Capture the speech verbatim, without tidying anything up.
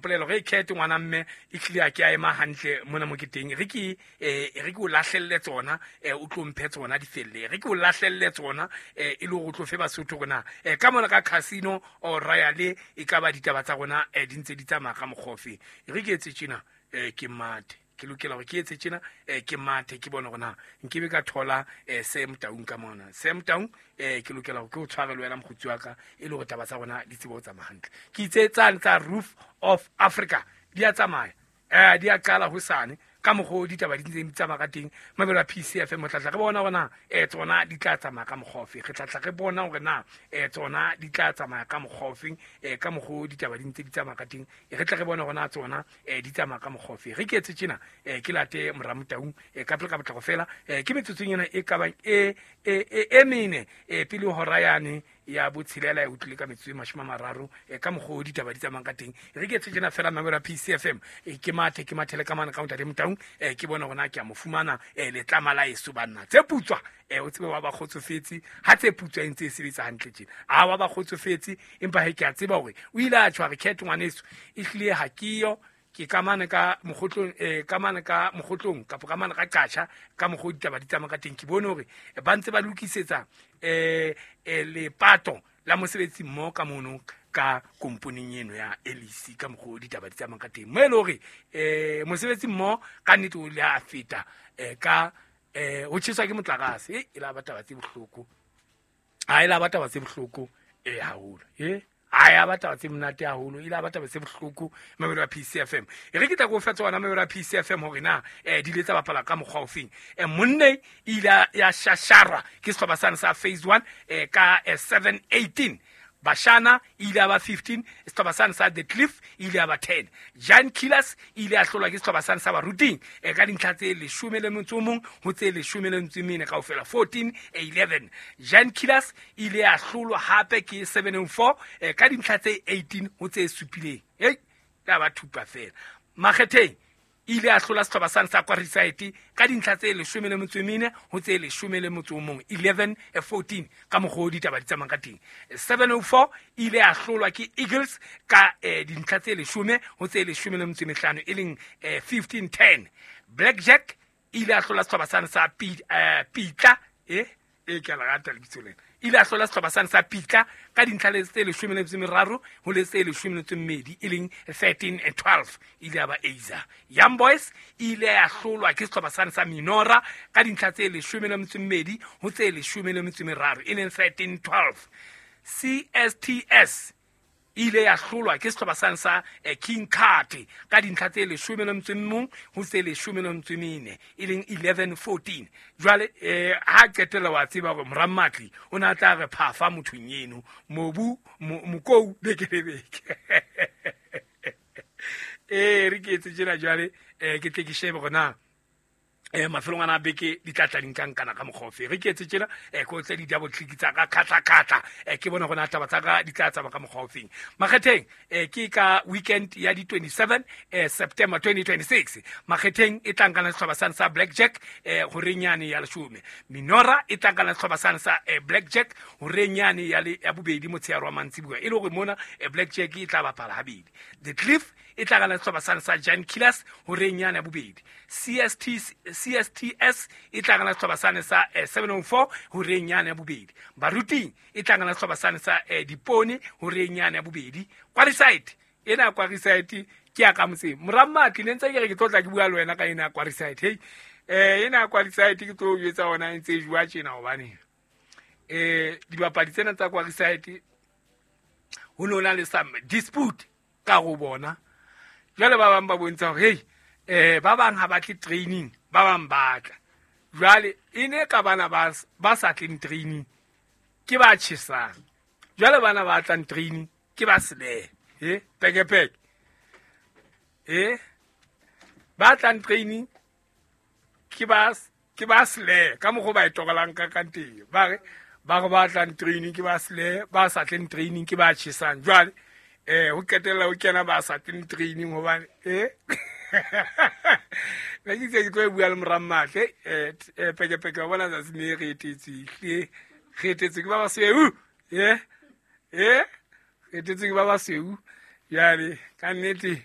mpolela gore e kete ngwana mme e tlile a ke a ema hantle mona mo ke teng re ke eh re ke o lahlelle tsona eh o tlo mphe tsona di felle re ke o lahlelle tsona eh e le gore o tlo fe Basotho rona eh ka mona ka Casino o Royale e ka ba ditaba tsa rona eh di ntse di tsamaya ka mokgofe re ke etse tjena eh ke mate ke lokela gore ke etse tjena eh ke mathe ke bone gore na nkebe ka thola eh Sam Taung ka mona Sam Taung eh ke lokela gore ke o tshware le wena mokgotsi wa ka e le gore taba tsa rona di tsebe ho tsamaya hantle ke itse tsane tsa Roof of Africa di a tsamaya eh di a qala hosane ka mokgwa o ditaba di ntseng di tsamaya ka teng mabelo a P C F M re tla tla re bona hore na eh tsona di tla tsamaya ka mokgwa ofe re tla tla re bona hore na eh tsona di tla tsamaya ka mokgwa ofe eh ka mokgwa o ditaba di ntse di tsamaya ka teng e re tla re bona hore na tsona eh di tsamaya ka mokgwa ofe re ke etse tjena eh ke late Moramotau eh ka pele ka potlako fela eh ke metsotsong ena e ka bang e e e e mene eh pele hora yane ya botshelela e utlwile ka metsotso e mashome a mararo eh ka mokgwa o ditaba di tsamayang ka teng re ke etse tjena fela mabelo a P C F M eh ke mathe ke mathele ka mane ka ntate Motaung eh ke bona hore na ke a mo fumana eh letlama la eso banna tse putswa eh o tsebe wa ba kgotsofetse ha tse putswa e ntse e sebetsa hantle tjena a wa ba kgotsofetse empa he ke a tseba hore o ile a tjho re khetho ngwaneso e hlile ha ke yo ke ka mane ka mokgotlong eh ka mane ka mokgotlong kapa ka mane ka qatjha ka mokgo ditaba di tsamaya ka teng ke bone hore ba ntse ba lokisetsa eh eh lepato la mosebetsi mmoho ka mono ka komponeng eno ya L E C ka mokgo ditaba di tsamaya ka teng mo e le hore eh mosebetsi mmoho ka nnete o ile a feta eh ka eh ho tjheswa ke motlakase e e la ba taba tse bohloko ha e la ba taba tse bohloko eh haholo eh a ya ba taba tse monate haholo ile a ba taba tse bohloko mabelo a P C F M e re ke tla go fetsa ona mabelo a P C F M hore na eh di ile tsa bapala ka mokgwa ofeng eh monne ile ya shasharwa ke sehlopha sane sa phase one eh ka seven eighteen Bashana ile ya ba fifteen sehlopha sane sa The Cliff ile ya ba ten Giant Killers ile ya hlolwa ke sehlopha sane sa Baruting eh ka dintlha tse leshome le motso o mong ho tse leshome le metso e mene kaofela fourteen eleven Giant Killers ile ya hlolwa hape ke seven and four eh ka dintlha tse eighteen ho tse supileng hey ya ba thupa fela Makgetheng ile a hlola sehlopha sane sa Kwarisite ka dintlha tse leshome le metso e mene ho tse leshome le motso o mong eleven fourteen ka mokgwa o ditaba di tsamayang ka teng seven oh four ile a hlolwa ke Eagles ka eh, dintlha tse leshome ho tse leshome le metso e mehlano e leng eh, fifteen ten Blackjack ile a hlola sehlopha sane sa eh, Pitla eh e ke la rata lebitso lena ile a hlola sehlopha sane sa Pitla ka dintlha le tse leshome le metso e meraro ho le tse leshome le metso e mmedi e leng thirteen and twelve ile ya ba Aza Young Boys ile ya hlolwa ke sehlopha sane sa Minora ka dintlha tse leshome le metso e mmedi ho tse leshome le metso e meraro e leng thirteen twelve C S T S ile ya hlolwa ke sehlopha sane sa eh, King Card ka dintlha tse leshome le metso e mong ho tse leshome le metso e mene e leng eleven fourteen jwale eh ha qetella wa tseba hore Morammatli o na tla re phafa mothong eno mobu mokou beke le beke eh re ke etse tjena jwale eh ke tle ke shebe hore na eh mafelong ana beke di tla tla di nkankana ka mokgwa ofe re ke etse tjena eh ko tse di double click tsa ka khatla khatla eh ke bona gona taba tsa ka di tla tsamaya ka mokgwa ofeng Makgetheng eh ke ka weekend ya di twenty-seven eh September twenty twenty-six Makgetheng e tla nkana sehlopha sane sa Blackjack eh horenyane ya leshome Minora e tla nkana sehlopha sane sa eh, Blackjack horenyane ya le ya bobedi motshehare wa mantsibuya e le hore mona eh, Blackjack e tla bapala habedi The Cliff e tla nkana sehlopha sane sa Giant Killers horenyane ya bobedi C S T C S T S e tla ngana sehlopha sane sa eh, seven oh four horenyane ya bobedi Baruting e tla ngana sehlopha sane sa eh, Dipone horenyane ya bobedi Kwarisite ena Kwarisite ke ya ka motseng Morammatli ne ntse ke re ke tlotla ke bua le wena ka ena Kwarisite hey eh ena Kwarisite ke tlo etsa ona ntse e jwa tjena hobane eh dibapadi tsena tsa Kwarisite ho no na le some dispute ka go bona jwale ba bang ba bontsha hore hey eh ba bang ha batle training ba bang batla jwale e ne ka bana ba ba sa tleng training ke ba tjhesang jwale bana ba tlang training ke ba sele eh peke peke eh ba tlang training ke ba ke ba sele ka mokgwa ba e tokolang ka ka teng ba re ba re ba tlang training ke ba sele ba sa tleng training ke ba tjhesang jwale eh ho qetella ho kena ba sa tleng training hobane eh ne ke tse ke tlo bua le Morammatle eh peke peke wa bona tsatsi ne re etetse hle re etetse ke ba basweu eh eh re etetse ke ba basweu jwale ka nnete